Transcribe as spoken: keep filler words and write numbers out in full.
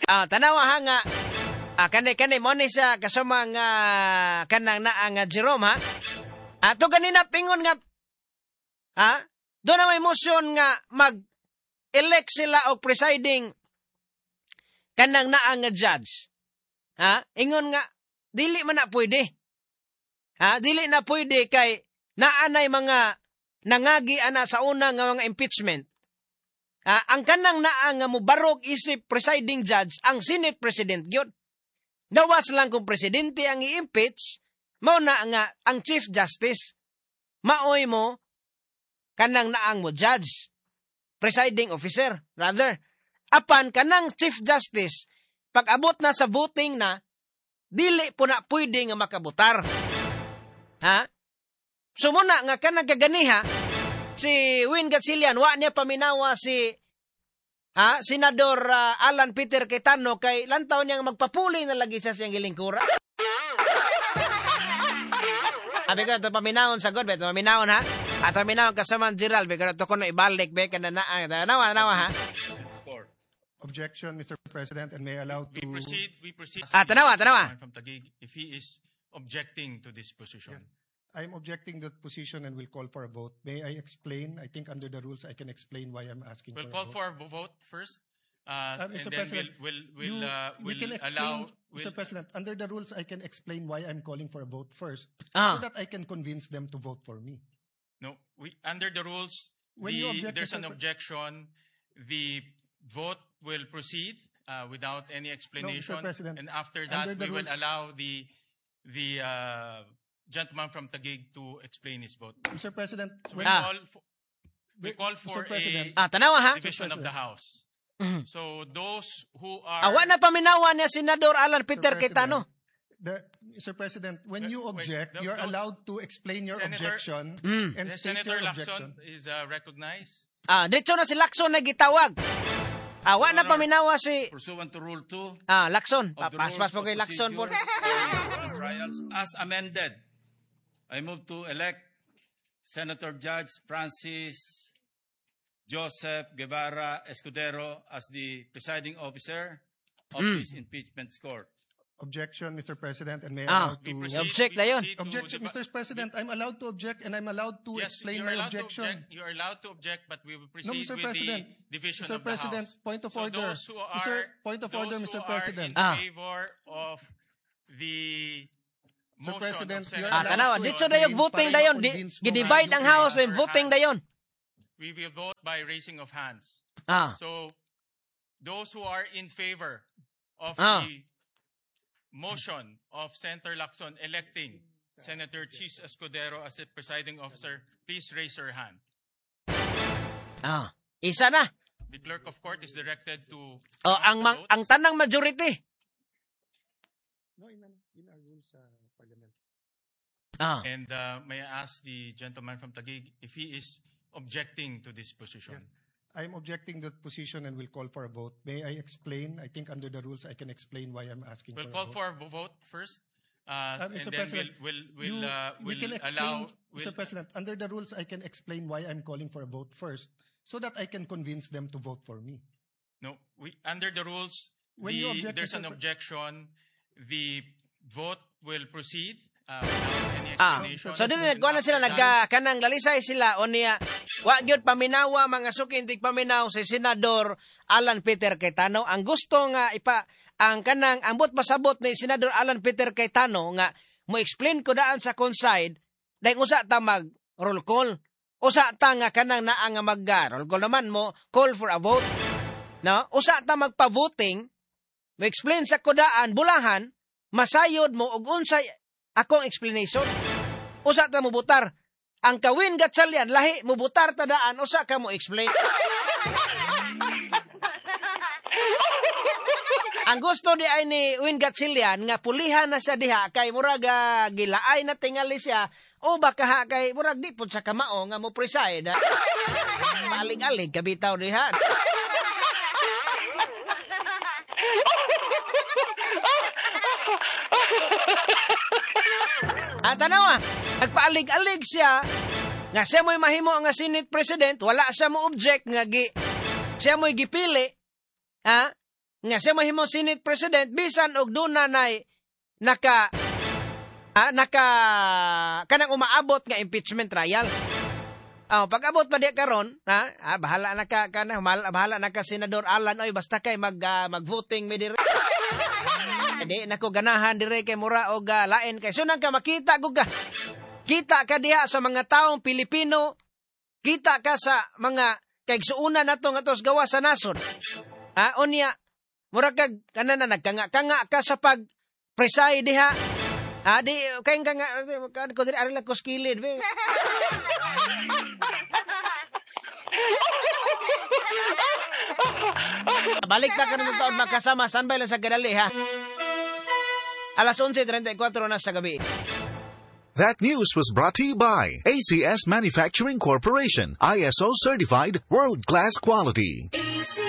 Ah, tanawa ha nga ah, kani kani mo ni siya kasama nga kanang naa nga Jerome ha. Ato ganina pingon nga ha, do na may motion nga mag-elect sila og presiding kanang naa nga judge. Ha? Ingon nga dili man na pwede. Ha? Dili na pwede kay naa nay mga nangagi ana sa una nga mga impeachment. Ha? Ang kanang naa nga mobarog isip presiding judge ang Senate President gyud. Gawas lang kung presidente ang i-impeach, mao na nga ang Chief Justice. Maoy mo kanang naang mo judge, presiding officer rather. Apan kanang Chief Justice pag abot na sa voting na, dili po na pwede nga makabotar. Ha? So muna nga kanang kaganiha, si Win Gatchalian, wa niya paminawa si ha, Senador ah, Alan Peter Cayetano kay lantaw niya nga magpapuli na lagi siya siyang gilingkura. Abi ko ito paminawon sa God, ito paminawon ha. At paminawon kasama Gerald, be ko ito kuno ibalik be kana na nawa nawa ha. Score. Objection, Mister President, and may I allow to We proceed, we proceed. Ah, tanawa, tanawa. From Taguig, if he is objecting to this position. I'm objecting that position and will call for a vote. May I explain? I think under the rules I can explain why I'm asking We'll for call a vote. for a vote first. Uh, Uh, and Mister then President, we'll, we'll, we'll, you- uh, we we'll can explain, allow, Mister we'll, President, under the rules I can explain why I'm calling for a vote first, Ah. so that I can convince them to vote for me. No, we, under the rules, When you the, object, there's Mister an Pre- objection. The vote will proceed uh, without any explanation. President, and after that, under the we will rules- allow the, the uh, gentleman from Taguig to explain his vote. Mister President, We when, Ah. call for, we call Mister for President, a Ah, tanawa ha. division of the President. House. Mhm. So those who are Ah, wa na paminawa niya Senador Alan Peter Mister President, Cayetano. The, Mister President, when you Wait, object, wait, you're those- allowed to explain your Senator- objection Mm. and The state Senator your objection. Lacson is uh, recognized. Ah, diretso na si Lacson na gitawag. Ah, wa na Your Honor, paminawa si Pursuant to Rule two ah Lacson. of the Paspas Rules po of kay Lacson po. Procedure for Impeachment Trials as amended, I move to elect Senator Judge Francis Joseph Guevara Escudero as the presiding officer of Mm. this impeachment court. Objection, Mister President, and may I Ah. allow We to proceed, Object we na yun. proceed to Objection, the- Mister President, I'm allowed to object and I'm allowed to Yes, explain you're my allowed to objection. object. You're allowed to object, but we will No, proceed Mister with President. the division Mister of the President, House. point of So order. those who are, Mister Point of those order, who Mister are President. in Ah. favor of the Mister motion President, of you're Senator Ah, allowed tanawa, to dito dayon explain voting para dayon. Di, ma-convince mo gidivide nga ang yung house iba. dayon voting dayon. We will vote by raising of hands. Ah. So those who are in favor of Ah. the motion of Senator Lacson electing Senator Chiz Escudero as the presiding officer, please raise your hand. Ah. Isa na. The clerk of court is directed to Oh, count ang the mang, votes. Ang tanang majority. No, in, in our rules sa parliament. Ah. And uh, may I ask the gentleman from Taguig if he is objecting to this position? Yes. I'm objecting that position and will call for a vote. May I explain? I think under the rules I can explain why I'm asking We'll for call a vote. for a vote first, Uh, Uh, and Mister then President, we'll, we'll, we'll, you- uh, we we'll can explain, allow. Mister We'll, President, under the rules I can explain why I'm calling for a vote first so that I can convince them to vote for me. No, we, under the rules, When you the, object, there's Mister an Pre- objection. The vote will proceed uh, without any Ah, explanation. so dili And nagkuha na sila after nagka kanang lalisay sila o niya wa gyud paminawa, mga suki, hindi paminaw si Senador Alan Peter Cayetano. Ang gusto nga ipa ang kanang ambot pasabot ni Senador Alan Peter Cayetano nga mo explain ko daan sa akong side dahil usa ta mag roll call. Usa ta nga kanang naa nga mag ah, roll call naman mo call for a vote. No? Usa ta magpa-voting mo explain sa kudaan bulahan masayod mo og unsay akong explanation. Usa ta mo butar. Ang kawin Gatchalian lahi mo butar ta daan usa ka mo explain. Ang gusto di ay ni Win Gatchalian nga pulihan na siya diha kay murag ah, gilaay na tingali siya o baka ha kay murag di pud sa kamao nga mo preside. Alig-alig kabitaw diha. At tanawa, nagpaalig-alig siya nga siya mo'y mahimo nga Senate President, wala siya mo object nga gi, siya mo'y gipili, ha? Nga siya mahimo Senate President bisan og duna nay naka ah, naka kanang umaabot nga impeachment trial. Oh, pag abot pa di karon, ha? Ah, bahala na ka kana bahala na ka Senador Alan oy basta kay mag uh, mag-voting mi diri. Di na ko ganahan dire kay mura og uh, lain kay sunang ka makita gud ka. Kita ka diha sa mga taong Pilipino, kita ka sa mga kaigsuonan nato nga tos gawa sa nasod. Ha, unya mura kag kana na nagkanga-kanga ka sa pag preside diha. Ah, di kay nga kan ko diri ari lang ko kilid be. Balik ta karon taon makasama standby lang sa gadali ha. Alas onse trenta y kwatro na sa gabi. That news was brought to you by A C S Manufacturing Corporation, I S O certified world-class quality.